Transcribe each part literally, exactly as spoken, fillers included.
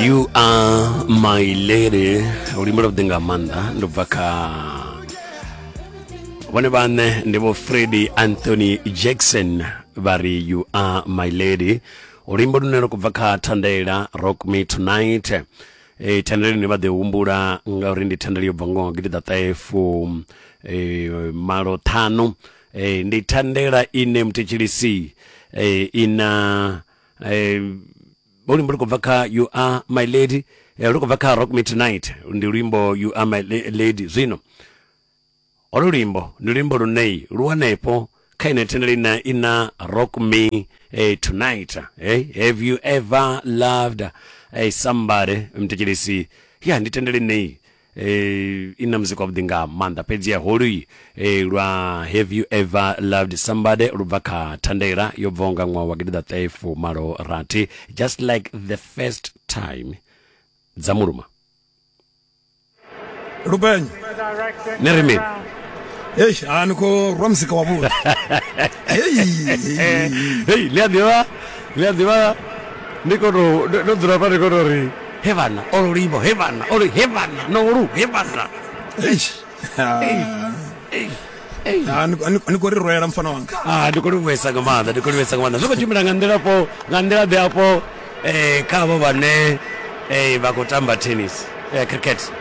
You Are My Lady, luimbo lwavhuḓi nga maanḓa, ndo bva kha vhone vhaṋe, ndi vho Freddie Anthony Jackson, vha ri "You Are My Lady", luimbo lune lwa khou bva kha thandela Rock Me Tonight. E, thandela ine vha ḓo humbula ngauri ndi thandela yo bva ngoho gidiḓaṱahe e, malo ṱhanu. E, ndi thandela ine muthetshelesi e, ina e, luimbo lu khou bva kha "You Are My Lady", eh, lu khou bva kha Rock Me Tonight, ndi luimbo "You Are My Lady". Zwino holu luimbo ndi luimbo lune lu hanefho kha ine thandela ina ina Rock Me eh, Tonight. eh, have you ever loved eh, somebody? Mthetshelesi, ya ndi thandela ine eh, ina muzika wavhuḓi nga maanḓa, fhedzi ya holu eh, lwa "Have You Ever Loved Somebody" lu bva kha thandela yo bvaho nga ṅwaha wa gidiḓaṱahe fumalo rathi, "Just Like the First Time", dza muluma. Lupenyo. Ni ri mini? Hei, a ni khou rwa muzika wavhuḓi. Hei. Hei, ḽi a ḓivha, ḽi a ḓivha, ndi khou tou ndo dzula fha, ndi khou tou ri he vhana olo luimbo, he vhana olo, he vhana nolu, he vhana. Hei. Ah, ni ni khou ri rwela, mfana wanga. Ah, ndi khou livhuwesa nga maanḓa, ndi khou livhuwesa nga maanḓa. Zwi khou tshimbila nga nḓila fho, nga nḓila ḓe afho eh kha avho vhane eh vha khou tamba tennis, eh cricket?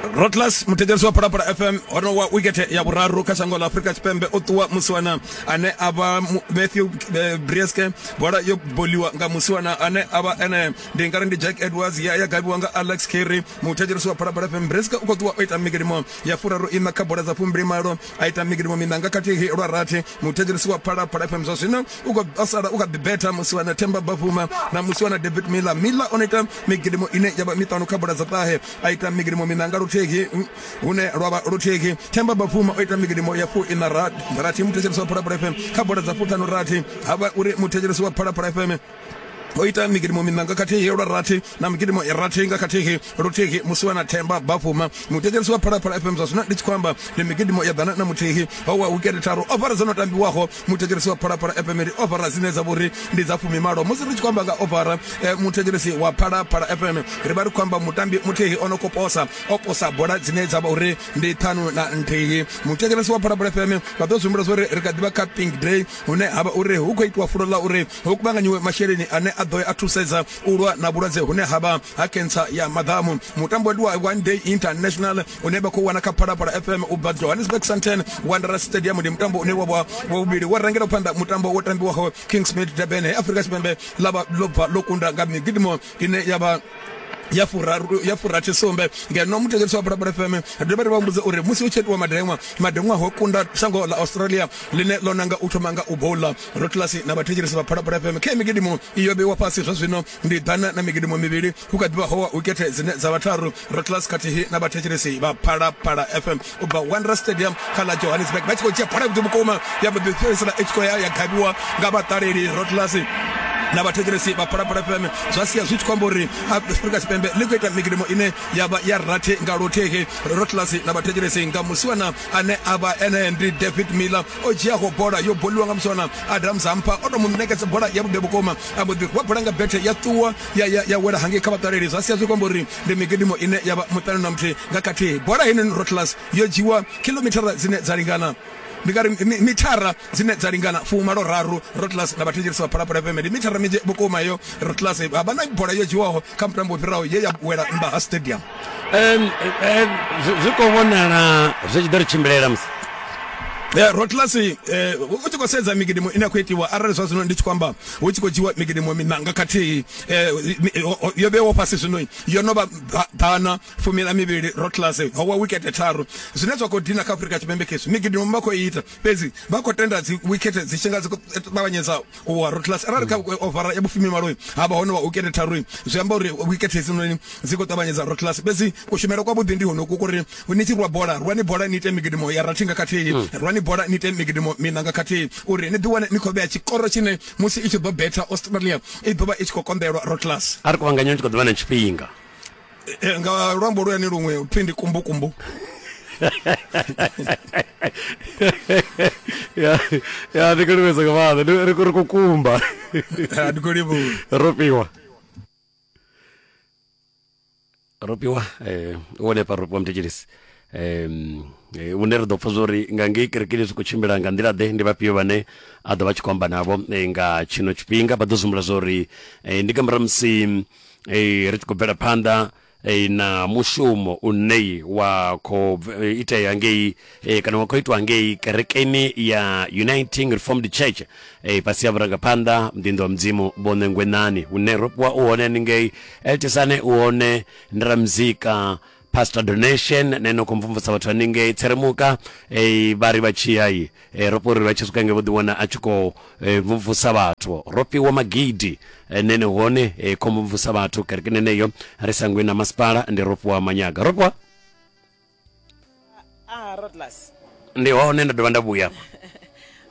Rotlas, muthetshelesi wa Phalaphala F M, hono wa wikete ya vhuraru kha shango ḽa Afrika Tshipembe, o ṱuwa musiwana ane a vha Matthew eh, Breetzke. Bola yo boliwa nga musiwana ane a vha ene, ndi ngari ndi Jack Edwards, ya ya gavhiwa nga Alex Carey. Muthetshelesi wa Phalaphala F M, Breetzke u khou ṱuwa o ita migidimo ya furaru ina kha bola dza fumbili malo, a ita migidimo miṋa nga khathihi lwa rathi. Muthetshelesi wa Phalaphala F M, zwa zwino u khou sala u kha ḓi betha musiwana Themba Bavuma na musiwana David Miller. Miller o no ita migidimo ine ya vha miṱanu kha bola dza ṱahe, a ita migidimo miṋa nga luthihi, hune lwa vha luthihi. Themba Bavuma o ita migidimo ya fu ina rathi, muthetshelesi wa Phalaphala F M, kha bola dza fuṱhanu rathi. Havha uri muthetshelesi wa Phalaphala F M o ita migidimo miṋa nga khathihi lwa rathi na migidimo ya rathi nga khathihi luthihi musiwana Themba Bafuma. Muthetshelesi wa Phalaphala F M, zwa zwino ndi tshi khou amba ndi migidimo ya ḓana na muthihi, ho wa wikete tharu. Ovara dzo no tambiwaho, muthetshelesi wa Phalaphala F M, ndi ovara dzine dza vhori ndi dza fumimalo. Musi ri tshi khou amba nga ovara, eh, muthetshelesi wa Phalaphala F M, ri vha ri khou amba mutambi muthihi o no khou posa, o posa bola dzine dza vha uri ndi ṱhanu na nthihi. Muthetshelesi wa Phalaphala F M, vha ḓo zwi humbula uri ri kha ḓivha kha Pink Day, hune ha vha uri hu khou itiwa fulo ḽa uri hu kuvhanganyiwe masheleni ane a ḓo a thusedza u lwa na vhulwadze hune ha vha ha kentsa ya maḓamu. Mutambo ndi wa One Day International une vha khou wana kha Phalaphala F M u bva Johannesburg, Sandton Wanderers Stadium. Ndi mutambo une wa vha wa vhuvhili wa rangela phanḓa mutambo wo tambiwaho Kingsmead, Durban, he Afrika Tshipembe ḽa vha ḽo bva ḽo kunda nga migidimo ine ya vha ya furaru ya furathi sumbe. Ngeno muthetshelesi wa Phalaphala F M, ri dovha ri vha humbudza uri musi hu tshi itiwa madeṅwa, madeṅwa ho kunda shango ḽa Australia ḽine ḽo nanga u thoma nga u bowla. Rotlasi na vhathetshelesi vha Phalaphala F M, khe migidimo iyo vheiwa fhasi zwa zwino ndi ḓana na migidimo mivhili, hu kha ḓivha howa wikete dzine dza vha tharu. Rotlas khathihi na vhathetshelesi vha Phalaphala F M, u bva Wanderers Stadium kha ḽa Johannesburg, vha tshi khou dzhia bola vhuḓi vhukuma, ya mbo ḓi fhedzisela i tshi khou ya ya gavhiwa nga vhaṱaleli. Rotlas na vhathetshelesi vha Phalaphala F M, zwa sia zwi tshi khou amba uri Afrika Tshipembe ḽi khou ita migidimo ine ya vha ya rathi nga luthihi. Rotlas na vhathetshelesi, nga musiwana ane a vha ene ndi David Miller, o dzhiaho bola yo boliwa nga musiwana Adam Zampa, o to mu ṋekedza bola ya vhuḓi vhukuma, a mbo ḓi rwa bola nga bethe, ya ṱuwa ya, ya, ya wela hangei kha vhaṱaleli, zwa sia zwi khou amba uri ndi migidimo ine ya vha muṱanu na muthihi nga khathihi. Bola heinoni, Rotlas, yo dzhiwa kilomithara dzine dza lingana, ndi nga ri mithara dzine dza lingana fumalo raru. Rotlas na vhathetshelesi vha Phalaphala F M, ndi mithara minzhi vhukuma iyo. Rotlas, ha vha na bola yo dzhiwaho kha mutambo wo fhiraho ye ya wela nnḓa ha stadium. um, um, zwi khou vhonala zwi tshi ḓo ri tshimbilela musi. Eh, Rotlas, eh, u tshi khou sedza migidimo ine ya khou itiwa, arali zwa zwino ndi tshi khou amba hu tshi khou dzhiwa migidimo miṋa nga khathihi, eh, yo vheiwa fhasi zwino yo no vha ḓana fumi na mivhili. Rotlas, ho wa wikete tharu. Zwine zwa khou dina kha Afrika Tshipembe khezwi migidimo vha khou ita, fhedzi vha khou tenda dzi wikete dzi tshi nga dzi khou ṱavhanyedza u wa. Rotlas, arali kha ovara ya vhufumi malo ha vha hone wa wikete tharu, zwi amba uri wikete hedzinoni dzi khou ṱavhanyedza. Rotlas, fhedzi kushumele kwavhuḓi ndi honoku kuri ni tshi rwa bola, rwani bola ni ite migidimo ya rathi nga khathihi, rwani bola ni ite migidimo miṋa nga khathihi, uri ni ḓi wane ni khou vhea tshikoro tshine musi i tshi ḓo betha Australia i ḓo vha i tshi khou konḓelwa. Rotlas. A ri kuvhanganya tshi khou ḓo vha na tshifhinga. Nga luambo luyani luṅwe pfhi ndi kumbukumbu. ya ya ndi khou livhesa nga maanḓa, ri ri khou kumba. Ndi khou livhuwa. Ro fhiwa. Ropiwa eh wone pa ropiwa mthetshelesi um une ri ḓo pfa zwori nga ngei kerekeni zwi khou tshimbila nga nḓila ḓe, ndi vhafhio vhane a ḓo vha tshi khou amba navho nga tshino tshifhinga. Vha ḓo zumbula zwori ndi nga murahu musi ri tshi khou bvela phanḓa na mushumo une wa khou itea ngei kana wa khou itwa ngei kerekeni ya Uniting Reformed Church fhasi ya vhurangaphanḓa muḓinḓa wa Mudzimu Vho Ṋengwenani, hune Ropiwa u hone haningei, Eltisane u hone, ndi ramuzika Pastor Donation nene khou mvumvusa vhathu haningei Tseremuka eh vha ri vha tshi ya i ro ri vha tshi swika ngei vho ḓiwana a tshi khou mvumvusa vhathu. Ropiwa Magidi nene hone khou mvumvusa vhathu kerekeni neneyo ri sangwe na masipala ndi Ropiwa Manyaga. Ropiwa ah Rodlas ndi hone nda dovha nda vhuya.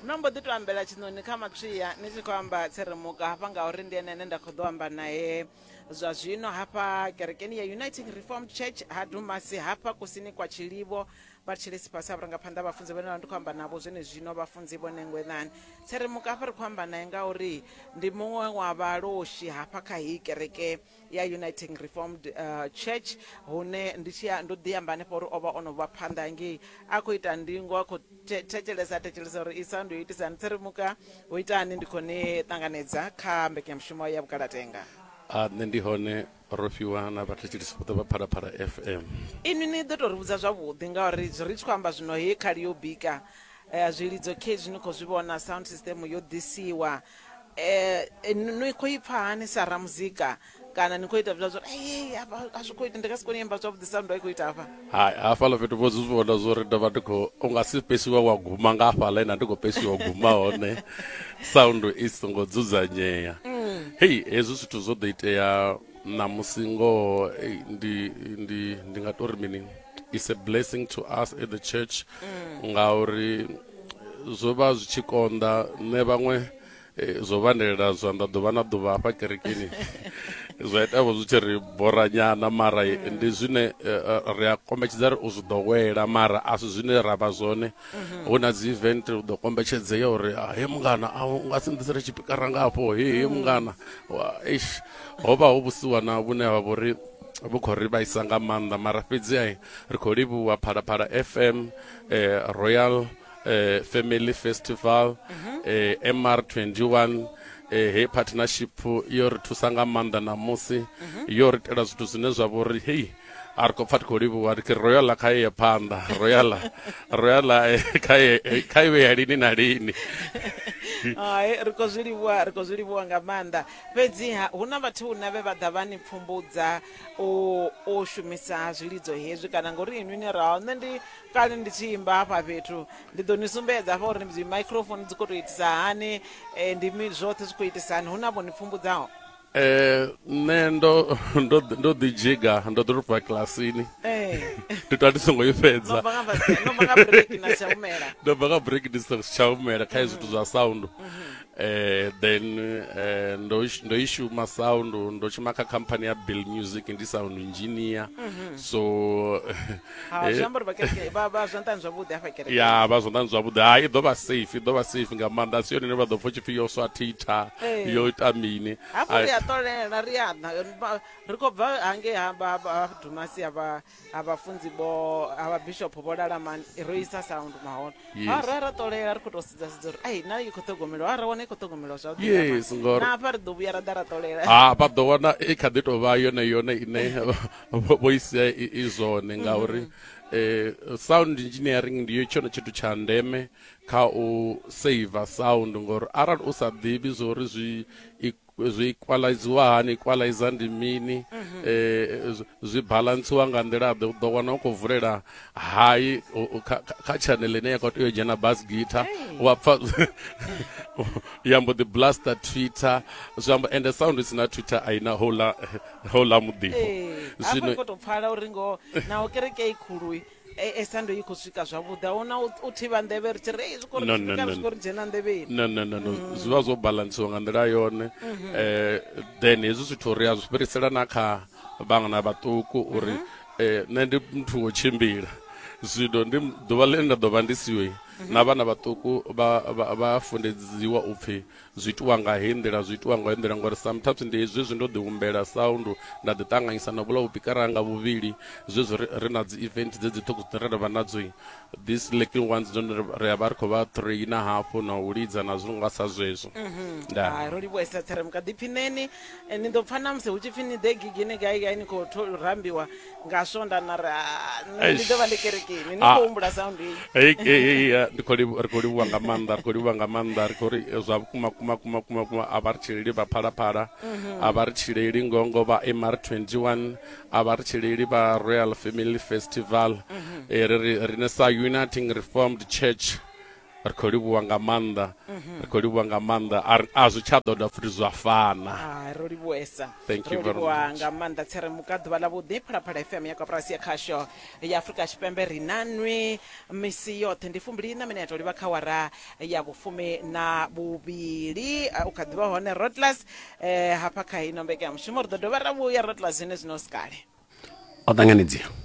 No mbo ḓi to ambela tshiṋoni kha matswiya ni tshi khou amba Tseremuka hafha ngauri ndi ene ane nda khou ḓo amba naye zwa zwino hafha kerekeni ya Uniting Reformed Church ha Dumasi hafha kusini kwa Tshilivho. Vha thetshelesi fhasi ha vhurangaphanḓa vhafunzi vhane ndi khou amba navho zwene zwino, vhafunzi Vho Ṋengwenani. Tseremuka hafha ri khou amba naye ngauri ndi muṅwe wa vhaloshi hafha kha heyi kereke ya Uniting Reformed uh, Church, hune ndi tshi ndo ḓi amba hanefha uri o vha o no vha phanḓa ngei a khou ita ndingo, a khou thetshelesa thetshelesa uri i sound yo itisani. Tseremuka hu itani, ndi khou ni ṱanganedza kha mbekanyamushumo ya Vhukalatenga. A nṋe ndi hone Ropiwa na vhathetshelesi vhoṱhe vha Phalaphala F M. Inwi ni ḓo to ri vhudza zwavhuḓi ngauri ri tshi khou amba zwino heyi khali yo bika zwilidzo khezwi ni khou zwi vhona, sound system yo ḓisiwa, ni khou i pfa hani sa ramuzika kana ni khou ita zwa uri ei a zwi khou ita ndi nga si kone u imba zwavhuḓi sound i khou ita hafha? Hai, hafhaḽa fhethu vho zwi vhona zwori ndo vha ndi khou u nga si pesiwa wa guma nga hafhaḽa ina ndi khou pesiwa guma hone sound i songo dzudzanyea. Hei, hezwi zwithu zwo ḓo itea ṋamusi ngoho ndi ndi ndi nga tori mini, it's a blessing to us at the church ngauri zwo vha zwi tshi konḓa. Nṋe vhaṅwe zwo vhandelela zwanḓa ḓuvha na ḓuvha hafha kerekeni zwa ita vho zwi tshi ri bora nyana, mara ndi zwine ri a kombetshedza ri u zwi ḓowela, mara a si zwine ra vha zwone. Hu na dzi event u ḓo kombetshedzea uri he mungana a u nga si nḓisele tshipikara nga hafho, he he mungana. Eish, ho vha ho vhusiwana vhune ha vha uri vhu khou ri vhaisa nga maanḓa, mara fhedzi ri khou livhuwa Phalaphala F M, eh, Royal eh, Family Festival, eh, M R twenty-one, eh, he partnership yo ri thusa nga maanḓa ṋamusi, yo ri itela zwithu zwine zwa vha uri hei a ri khou pfa ri khou livhuwa, ri Royal kha ye phanḓa, Royal Royal kha ye kha iwe ya lini na lini. Hai, ri khou zwi livhuwa, ri khou zwi livhuwa nga maanḓa. Fhedziha hu na vhathu huna vhe vha ḓa vha ni pfumbudza u u shumisa zwilidzo hezwi kana ngori inwi ni raho, nṋe ndi kale ndi tshi imba hafha fhethu, ndi ḓo ni sumbedza hafha uri dzi microphone dzi khou tou itisa hani, ndi zwoṱhe zwi khou itisa hani, hu na vho ni pfumbudzaho? Eh, nṋe ndo ndo ndo ḓi dzhiga, ndo ḓo bva kilasini. Eh. Ndi tou ndi songo i fhedza. No bva nga no bva nga break na tsha humela. Ndo bva nga break ndi songo tsha humela kha zwithu zwa sound. Eh then eh ndo ndo i shuma sound, ndo shuma kha company ya Bill Music ndi sound engineer. So ha zwi amba uri vha kereke vha vha zwanḓani zwavhuḓi hafha kereke. Ya vha zwanḓani zwavhuḓi. Ha i ḓo vha safe, i ḓo vha safe nga maanḓa. Si yone ine vha ḓo pfa tshipfi yo swa thitha, yo ita mini. Hafhu ri a ṱolela, ri a ḓa ri khou bva hangei ha ha Dumasi ha vha ha vhafunzi vho ha vha bishop vho Lalamani, ro isa sound mahona. Ha ra ra ṱolela ri khou tou sedza sedza uri ai na i khou ṱhogomelwa, ra wana i khou ṱhogomelwa zwavhuḓi. Yes, ngori na hafha ri ḓo vhuya ra ḓa ra ṱolela. Ha vha ḓo wana i kha ḓi tou vha yone yone ine vho isia i zwone ngauri eh sound engineering ndi yo tshone tshithu tsha ndeme kha u save sound, ngori arali u sa ḓivhi zwori zwi zwi equaliziwa hani, equalizer ndi mini, eh zwi balansiwa nga nḓila ḓe, u ḓo wana u khou vulela hai kha channel ine ya khou tea u dzhena bass guitar, wa pfa ya mbo ḓi blaster Twitter, zwi amba ende sound isina Twitter a ina hola hola muḓifho. Zwino khou tou pfala uri ngo naho kereke i khulu e sound i khou swika zwavhuḓi, a huna u thivha nḓevhe ri tshi ri zwi khou ri zwi khou ri dzhena nḓevheni. No no no no, zwi vha zwo balansiwa nga nḓila yone. Eh then hezwi zwithu ri a zwi fhirisela na kha vhana vhaṱuku uri eh nṋe ndi muthu wo tshimbila, zwino ndi ḓuvha ḽine nda ḓo vha ndi siwe Na vhana vhaṱuku vha vha vha fundedziwa upfi zwi itiwa nga heyi nḓila, zwi itiwa nga heyi nḓila, ngori sometimes ndi hezwi ndo ḓi humbela sound nda ḓi ṱanganyisa na vhula vhupikara nga vhuvhili, zwezwi ri, ri na dzi event dzedzi ṱhukhu dzine ra vha nadzo, these little ones dzone ri a vha ri khou vha traina hafhu na u lidza na zwiṅwe nga sa zwezwo. Ndaa. Hai, ro livhuwesa Tseremuka, ḓiphineni. Eh, ni ḓo pfa na musi hu tshi pfi ni ḓe gigini gai gai, ni khou tho- rambiwa nga swonda na ri "Ah, nṋe ndi ḓo vha ndi kerekeni." Ni Ah. khou humbula sound iyi. Hey, hey, hey, eh, ndi khou livhu- ri khou livhuwa nga maanḓa, ri khou livhuwa nga maanḓa, ri khou ri eh, zwa vhukuma kuma kuma kuma kuma a vha ri tshileli vha Phalaphala, a vha ri tshileli ngongo vha M R twenty-one, a vha ri tshileli vha Royal Family Festival. Eh, ri ri rine sa Uniting Reformed Church ri khou livhuwa nga maanḓa, ri khou livhuwa nga maanḓa, a ri- a zwi tsha ḓo dovha futhi zwa fana. Hai, ro livhuwesa. Thank you Ro very livhuwa much. nga maanḓa Tseremuka, ḓuvha ḽa vhuḓi. Phalaphala F M ya koporasi ya khasho ya Afrika Tshipembe ri na nwi misi yoṱhe, ndi fumbili na minete u livha kha wara ya vhufumi na vhuvhili. Ah, u kha ḓivha hone Rotlas eh, hafha kha ino mbekanyamushumo ri ḓo dovha ra vhuya Rotlas zwine zwino sikale. O ṱanganedziwa.